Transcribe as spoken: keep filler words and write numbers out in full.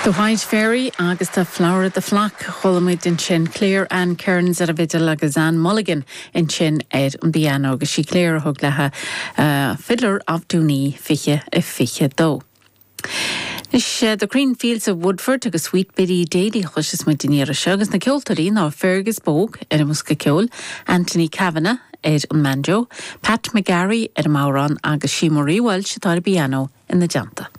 The White Fairy agus The Flower of the Flock chuala muid ansin Claire Ann Kearns ar an bhfidil agus Ann Mulligan ansin ar an bpianó agus sí Claire a thug léi uh, Fiddler of Dooney fiche a fiche dó. Is uh, the Green Fields of Woodford agus Sweet Biddy Daly chloisfidh muid an iarraidh seo agus na ceoltóirí ná Fergus Bogue ar an mbosca ceoil, Anthony Kavanagh ar an mbanjo, Pat McGarry ar an mbodhrán agus sí Marie Walsh atá ar an bpianó ina dteannta.